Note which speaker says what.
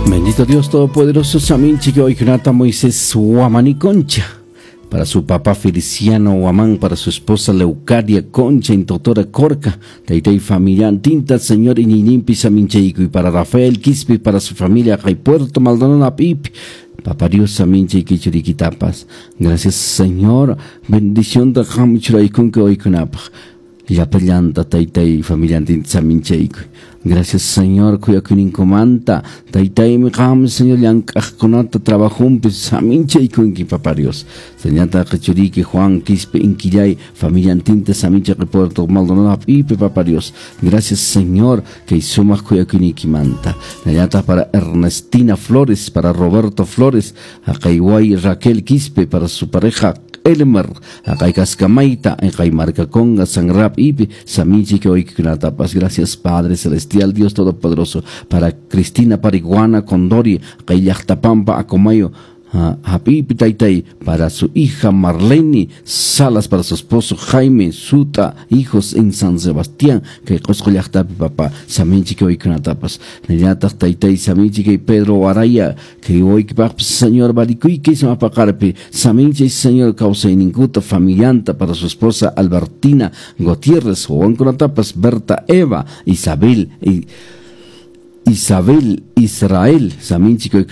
Speaker 1: Bendito Dios Todopoderoso, Saminchi que Moisés Huamani Concha. Para su papá Feliciano Huamán, para su esposa Leucadia Concha, doctora Corca, Taita y familia Tinta, Señor Iñiñimpi Samincheico, y para Rafael Quispe, para su familia Puerto Maldonado Pip. Papá Dios Saminche y Churiquitapas. Gracias, Señor. Bendición de Hamchuraikun que hoy Llapallanta taytay familiantinta saminchaykuy. Gracias, Señor, kuyakuyninkumanta. Taytaymi qam, Señor, llank'aqkunata trabajunpi saminchaykunki, Papá Dios. Señataqa churiyki Juan Quispe Inquillay familiantinta saminchayqi Puerto Maldonado hap'iypi, Papá Dios. Gracias, Señor, kay sumaq kuyakuyniykimanta. Nallataq para Ernestina Flores, para Roberto Flores, haqayway Raquel Quispe, para su pareja Elmer, haqay Cascamayta, haqay Marcaconga, Sanrap ipi, saminchayki wawaykikunatapas. Gracias, Padre Celestial, Dios Todopoderoso, para Cristina Pariguana Condori, haqay Llaqtapampa, Acomayo, hap'iypi taytay, para su hija Marlene Salas, para su esposo Jaime Suta, hijos en San Sebastián, kay Qusqu llaqtapi, papá, saminchayki wawaykunatapas. Nallataq taytay saminchayki Pedro Araya, kay wawaykipaqpis, Señor, valikuyki samapaqarpi, saminchay, Señor, kawsayninkuta, familianta, para su esposa Albertina Gutiérrez, wawankunatapas, Berta Eva, Isabel, y Isabel Israel, saminchayki.